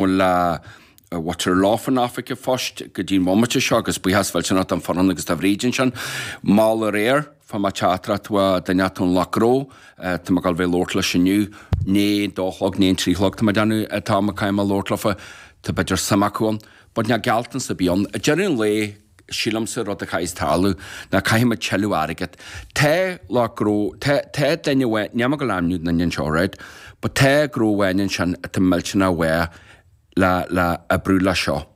Bhuel le muintir Lough an Oifig an Phoist go dtí an bhomaite seo agus buíochas mhillteanach don Fionán agus do Bhríd ansin. Mall aréir, fuair mé teachtaireacht ó duine inteacht ón Lucht Gnó, tá mé ag dul bheith ag labhairt leis inniu, nó dó a chlog, nó an trí chlog tá mé ag déanamh, tá mé caithfidh mé labhairt leofa, tá b'fhéidir suim acu ann. But níl gealltanas ar bith ann. Ag deireadh an lae, sílimse rud a chaithfeas tarlú ná caithfidh muid tuilleadh airgead. Tá lucht gnó, tá, tá duine amháin, níl mé ag dul ainmniú an duine anseo, right, but tá gnó amháin ansin atá millteanach mhaith le, le oibriú le seo.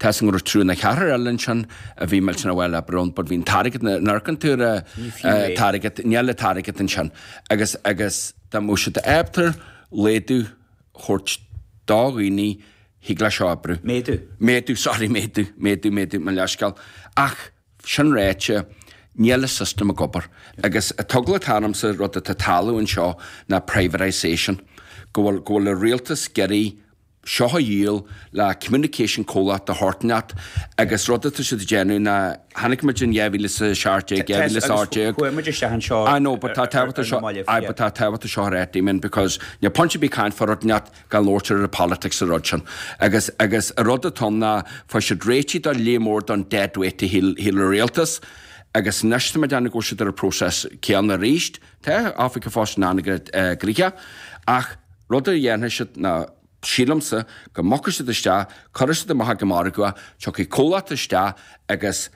Tá 'fhios agam go raibh triúr nó ceathrar eile ansin a bhí millteanach mhaith le oibriú ann, but bhí an t-airgead, nuair a amharcann tú ar an t-airgead, níl an t-airgead ansin. Agus, agus dá mbeadh siad ábalta laghdú a thabhairt do dhaoine, thig le seo oibriú. Méadú. Méadú, sorry, méadú, méadú, méadú, mo leithscéal. Ach, sin ráite, níl an system ag obair. Agus an t-eagla atá ormsa, rud atá ag tarlú anseo ná privatisation. Go bhfuil, go bhfuil an rialtas ag iarraidh seo a dhíol le communication comhlacht de shórt inteacht agus rud atá siad ag déanamh ná, chonaic muid in 2017, 2018, Chuaigh muid isteach anseo I know, but tá tábhacht ar seo, na mallaibh, aye, but tá tábhacht seo a rá, Damien, because níl point ar bith caint fá rud inteacht gan labhairt ar an politics sa rud sin. Agus, agus an rud atá ann ná fuair siad réitigh do léim mór don dead weight a shíl, shíl an rialtas agus anois tá mé ag déanamh go bhfuil siad ar an process céanna arís. Tá Oifig an Phoist an-ghnoitheach ach rud a dhéanfaidh siad ná sílimse go mbogfaidh siad isteach, cuirfidh siad amach ag an margadh é, tiocfaidh comhlacht isteach agus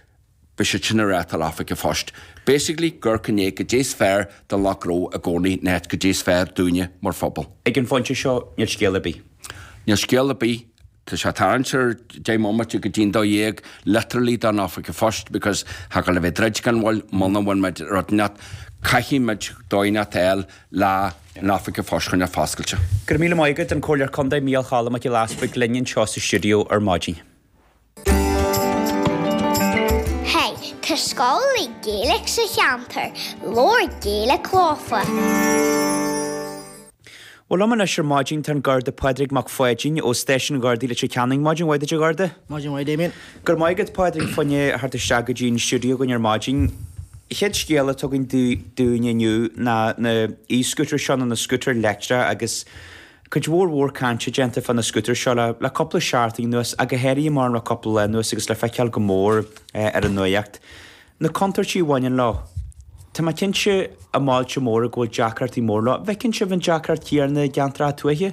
beidh siad sin ag reáchtáil Oifig an Phoist. Basically, gur gné goidé is fearr don lucht gnó i gcónaí in áit goidé is fearr dúinne mar phobal. Ag an phointe seo, níl scéal ar bith. Níl scéal ar bith. Tá sé ag tarraingt ar 10 mbomaite go dtí'n 12 literally don Oifig an Phoist because tá gabháil a bheith druid gan mhoill muna bhfuil muid rud inteacht caithfidh muid dóigh inteacht a fháil le an Oifig an Phoist a choinneáil foscailte. Go raibh míle maith agat, an Comhairleoir Contae Mícheál Cholm Mac Giolla Easbuig linn anseo sa stiúideo ar maidin. Hey, tá scoil le Gaeilge sa cheantar, labhair Gaeilge leofa. Bhuel, liom anois ar maidin tá an Garda Pádraig Mac Pháidín ó Stáisiún Ghardaí Leitir Ceanainn. Maidin mhaith duit a Gharda. Maidin mhaith Damien. Go raibh maith agat Pádraig fá choinne theacht isteach go dtí an stiúideo againn ar maidin. Chéad scéal atá againn dúinn inniu ná na e-scooters seo nó na scútair leictreacha agus Cuid mhór mhór cainte déanta fá na scútair seo le le cúpla seachtain anuas, ach go háirithe mar le cúpla lá anuas agus le feiceáil go mór ar an nuacht. Na contúirtí a bhaineann leo. Tá mé cinnte i mbailte móra go bhfuil deacrachtaí móra leo. An bhfeiceann sibh an deacracht chéanna i gceantracha tuaithe?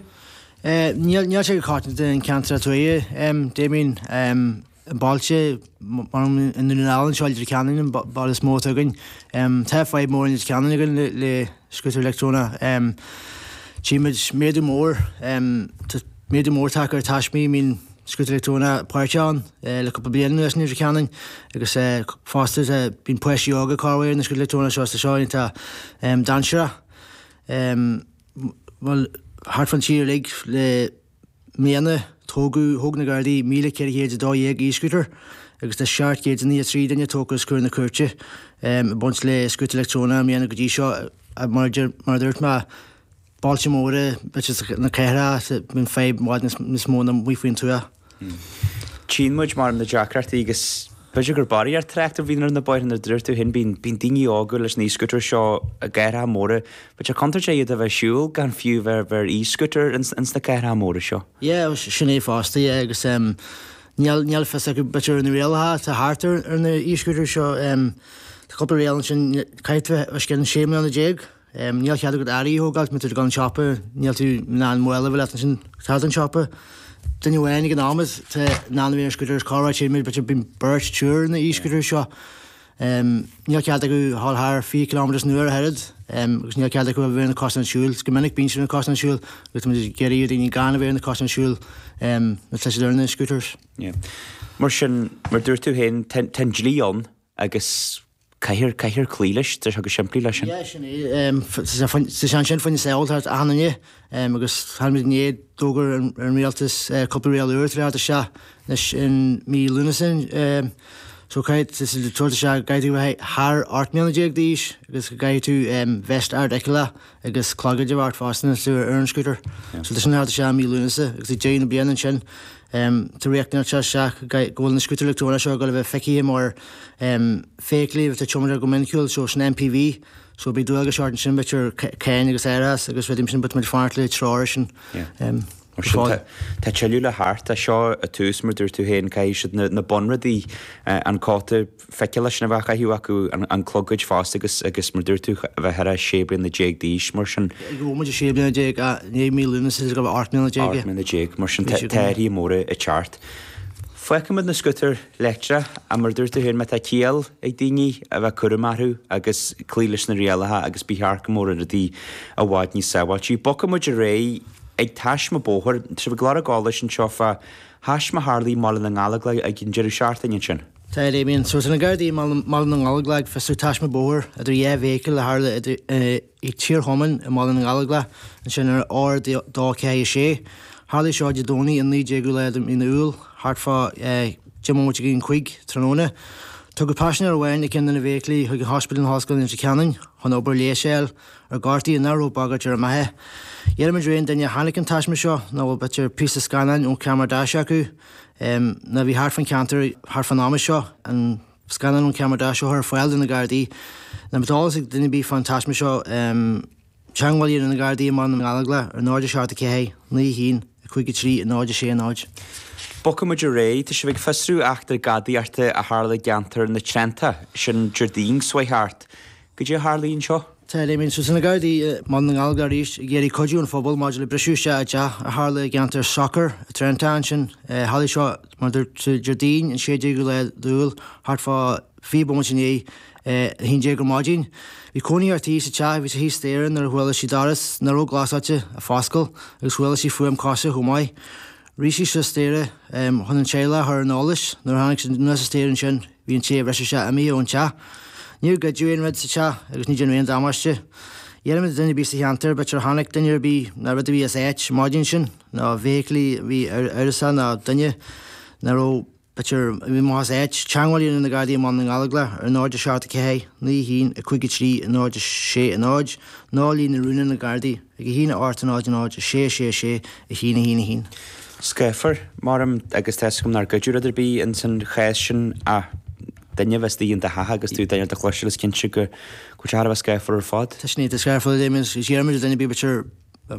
Níl níl sé go coitianta in ceantracha tuaithe, Damien. I mbailte mar i nDún na nGall anseo i Leitir Ceanainn an baile is mó atá againn. Tá fadhb mór i Leitir Ceanainn againn le scútair leictreonach. Tchímid méadú mór, tá méadú mór tagtha ar taismí a mbíonn scútar leictreonach páirteach ann le cúpla bliain anuas i Leitir Ceanainn agus fosta bíonn páistí óga ag corrmhaor ar na scútair leictreonach seo is tá seo iontach dainséarach. Bhuel, thart fán tír uilig le mbliana, tógadh, thóg na Gardaí 1,412 e-scooter agus tá 793 duine tógtha os comhair na cúirte ag baint le scútar leictreonach i mbliana go dtí seo. Mar a dúirt mé, bailte móra, b'fhéidir na cathracha, bíonn fadhb i bhfad níos mó ná amuigh faoin tuath. Tchíonn muid mar na deacrachtaí agus b'fhéidir gur barraíocht trácht a bhíonn ar na bóithre mar a dúirt tú féin, bíonn bíonn daoine óga leis na e-scooters seo i gcathracha móra. B'fhéidir contúirteach iad a bheith ag siúl gan fiú bheith bheith ar e-scooter ins ins na cathracha móra seo. Yeah, sin é fosta, yeah, agus em níl níl fios acu b'fhéidir ar na rialacha atá thart ar ar na e-scooters seo em tá cúpla riail ansin caithfidh tú bheith os cionn 16 mbliana. Níl cead agat earraí a thógáilt má tá tú ag dul an siopa, níl tú in ann mála a bheith leat ansin thart an siopa. Duine amháin ag an am atá in ann a bheith ar scooter is corruair tchímid b'fhéidir bíonn beirt, triúr ar na e-scooters seo. Níl cead acu a dhul thar 20 kilometres an uair ach oiread agus níl cead acu a bheith ar na cosáin siúil. Go minic bíonn siad ar na cosáin siúil agus tá muid ag iarraidh ar dhaoine gan a bheith ar na cosáin siúil nuair atá siad ar na scooters. Mar sin, mar dúirt tú féin, tá an dlí ann agus Caithfear, caithfear cloí leis, tá sé go simplí leis sin. Yeah, sin é. Tá sé ansin fá choinne sábháilteacht achan duine agus táimid i ndiaidh d'fhógair an rialtas cúpla riail úr atá le theacht isteach anois in mí Lúnasa. So caithfidh, tá siad ag tabhairt isteach go gcaithfidh tú a bheith thar 18 mbliana d'aois agus go gcaithfidh tú vest ardfheiceálach agus clogaid a bheith ort fosta nuair atá tú ar an scooter. So tá sin le theacht isteach i mí Lúnasa agus ag deireadh na bliana ansin tá riachtanas ag teacht isteach go bhfuil na scútair leictreonacha seo ag dul a bheith feicthe mar feithiclí atá tiomanta go minicúil, so sin MPV, so beidh dualgais ort ansin b'fhéidir cáin agus árachas agus rudaí mar sin but tá muid ag fanacht le treoir sin. Mar sin, tá tuilleadh le theacht. Tá seo an tús, mar dúirt tú féin, caithfidh siad na bunrudaí, an cóta fichille sin a bheith á chaitheamh acu, an clogaid fosta agus, agus mar dúirt tú, a bheith thar 16 bliana d'aois, mar sin. Ag an bhomaite 16 bliana, i ndiaidh mí Lúnasa is go raibh 18 mbliana. 18 mbliana, mar sin tá athruithe móra ag teacht. Fágfaimid na scútair leictreach, ach mar dúirt tú féin, má tá ciall ag daoine a bheith cúramach orthu agus cloí leis na rialacha agus ba cheart go mbeadh rudaí i bhfad níos sábháilte. Bogfaimid ar aghaidh. Ag taisme bóthair, tá sibh ag lorg eolais anseo fá thaisme a tharlaigh i mBaile na nGallóglach ag an deireadh seachtaine ansin. Tá, a Damien. So tá na Gardaí i mBaile na nGallóglach ag fiosrú taisme bóthair idir dhá fheithicil a tharla i Tír Chomáin i mBaile na nGallóglach ansin ar R246. Tharlaigh seo Dé Domhnaigh an 19ú lá de mhí na Iúil thart fá 10 mbomaite go 5 tráthnóna. Tugadh paisinéir amháin i gceann de na bhfeithiclí chuig an Hospital in Ollscoil Leitir Ceanainn chun obair leighis a fháil. Ar gortaíodh nach raibh bagairt ar a mbeatha. Iarraimid ar aon duine a chonaic an taisme seo nó a bhfuil b'fhéidir píosa scannáin ón cheamara dash acu nó a bhí thart fán cheantar thart fán ama seo, an scannán ón cheamara dash a chur ar fáil do na Gardaí. Nó má tá eolas ag duine ar bith fán taisme seo, teagmháil a dhéanamh na Gardaí i mBaile na nGallóglach ar 0 7 4 9 1 5 3 0 6 0. Bogfaimid ar aghaidh. Tá sibh ag fiosrú eachtra gadaíochta a tharla i gceantar na Treantacha, sin Déardaoin seo chuaigh thart. Goidé a tharlaigh anseo? Tá, a Damien. So tá na Gardaí i mBaile na nGallóglach arís ag iarraidh cuidiú ón phobal maidir le briseadh isteach i dteach a tharla i gceantar Socair i Treantacha ansin. Tharlaigh seo, mar a dúirt tú, Déardaoin an 16ú lá d'Iúil, thart fá 20 bomaite i ndiaidh a 11 ar maidin. Bhí cónaí ar tí sa teach, bhí sé thíos staighre nuair a chuala sí doras nach raibh glasáilte ag foscailt agus chuala sí fuaim cosa chomh maith. Rith sí suas staighre chun an teaghlach a chur ar an eolas. Nuair a tháinig sí anuas an staighre ansin, bhí an té a bhris isteach imithe ón teach. Níor goideadh aon rud sa teach agus ní déanadh aon damáiste. Iarraimid ar dhuine ar bith sa cheantar, b'fhéidir a chonaic duine ar bith nó rud a bhí as áit maidin sin, nó feithiclí a bhí amhrasach nó duine nach raibh B'fhéidir, a bhí amach as áit, teagmháil a dhéanamh na Gardaí i mBaile na nGallóglach ar 0 7 4 9 1 5 3 0 6 0 nó líne rúnda na Gardaí ag 1 8 0 0 6 6 6 1 1 1. Scáfar, maram, agus tá 'fhios agam nár goideadh rud ar bith ins an chás sin ach duine a bheith istigh in do theach agus tú duine do chloisteáil is cinnte go bhfuil sé thar a bheith scáfar ar fad. Tá sin iontach scáfar, a Damien, is iarraimid ar dhuine ar bith b'fhéidir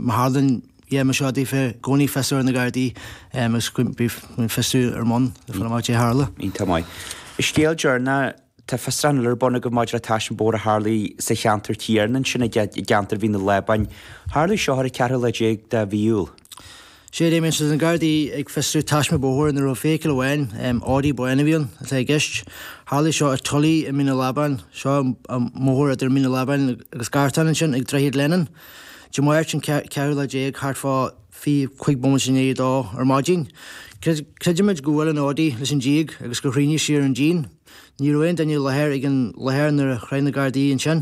má tharlaíonn Yeah mar seo daofa i gcónaí fios a chur ar na Gardaí agus go mbíonn fiosrú ar bun le fáil amach caidé a tharla. Iontach maith. Scéal deireanach, tá fiosrúchán eile ar bun agaibh maidir le taisme bóthair a tharlaigh sa cheantar céanna ansin i gceantar Mhín na Lábáin. Tharlaigh seo ar an ceathrú lá déag de mhí Iúil. Sea, Damien, so tá na Gardaí ag fiosrú taisme bóthair ina raibh feithicil amháin, Audi bán a bhí ann, atá i gceist. Tharlaigh seo i Tully i Mín na Lábán, seo an mbóthar idir Mín na Lábáin agus Gartán ansin ag Droichead Lennon. Dé Máirt an ceathrú lá déag, thart fá 25 bomaite i ndiaidh a dó ar maidin. Creidimid gur bhuail an Audi leis an díog agus gur thriomaigh sí ar an díon. Ní raibh aon duine i láthair ag an láthair nuair a shroich na Gardaí ansin.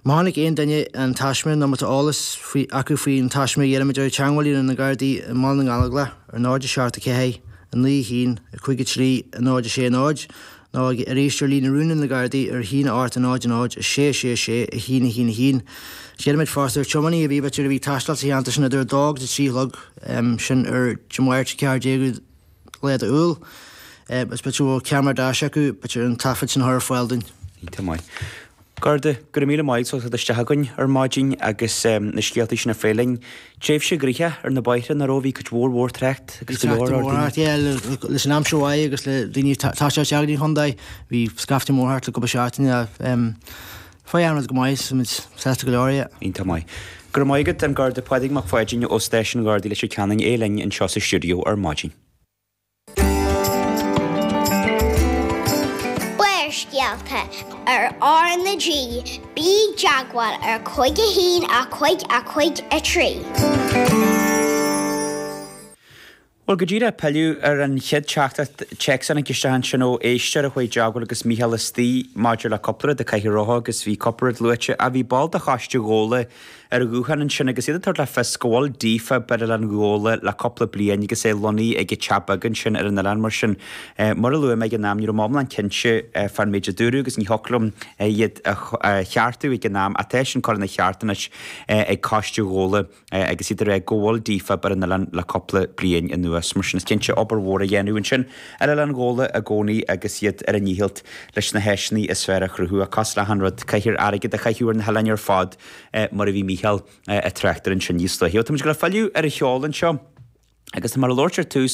Má chonaic aon duine an taisme nó má tá eolas acu faoin taisme iarraimid orthu teagmháil a dhéanamh na Gardaí i mBaile na nGallóglach ar 0 7 4 9 1 5 3 0 6 0 nó arís ar líne rúnda na Gardaí ar 1 8 0 0 6 6 6 1 1 1. Iarraimid fosta ar tiománaithe ar bith b'fhéidir a bhí ag taisteal sa cheantar sin idir 2 agus 3 a chlog, sin ar Dé Máirt 14ú lá de Iúil, is b'fhéidir go bhfuil ceamara dash acu, b'fhéidir an taifead sin a chur ar fáil dúinn. Iontach maith. Garda, go raibh míle maith agat as teacht isteach chugainn ar maidin agus na scéaltaí sin a phlé linn. Tréimhse ghnoitheach ar na bóithre nach raibh, bhí cuid mhór mhór trácht agus go leor leor daoine. Yeah, leis an aimsir mhaith agus le daoine ag taisteal isteach go dtí an chontae, bhí scaifte mór thart le cúpla seachtain. Faigh an rud go maith, tá muid sásta go leor, yeah. Iontach maith. Go raibh maith agat, an Garda Pádraig Mac Pháidín ó Stáisiún Ghardaí Leitir Ceanainn, é linn anseo sa stiúideo ar maidin. Barrscéalta ar R na G, bí i dteagmháil ar 5 1 5 5 3. Bhuel, go díreach pilleadh ar an chéad teachtaireacht téacs a tháinig isteach ansin ó éisteoir a chuaigh i dteagmháil agus Mícheál istigh maidir le cúpla rud a caitheadh rompu agus bhí cúpla rud luaite. Ach bhí ball de choiste Ghabhla ar an ghuthán ansin agus iad ag tabhairt le fios go bhfuil DFAB ar Oileán Ghabhla le cúpla bliain agus é lonnaithe ag an teach beag ansin ar an oileán. Mar sin, mar a luaigh mé ag an am, ní raibh mé iomlán cinnte fán méid a dúradh agus ní thiocfadh liom iad a cheartú ag an am ach tá sin curtha ina cheart anois ag Coiste Ghabhla agus iad ag rá go bhfuil DFAB ar an oileán le cúpla bliain anuas. Mar sin, is cinnte obair mhór á dhéanamh ansin ar Oileán Ghabhla i gcónaí agus iad ar a ndícheall leis na háiseanna is fearr a chruthú. Ach cosúil le achan rud, caithfear airgead a chaitheamh ar na hoileáin ar fad mar a bhí Mícheál ag trácht air ansin níos luaithe. Táimid ag dul a filleadh ar an cheol anseo. Agus tá mé ag labhairt ar tús.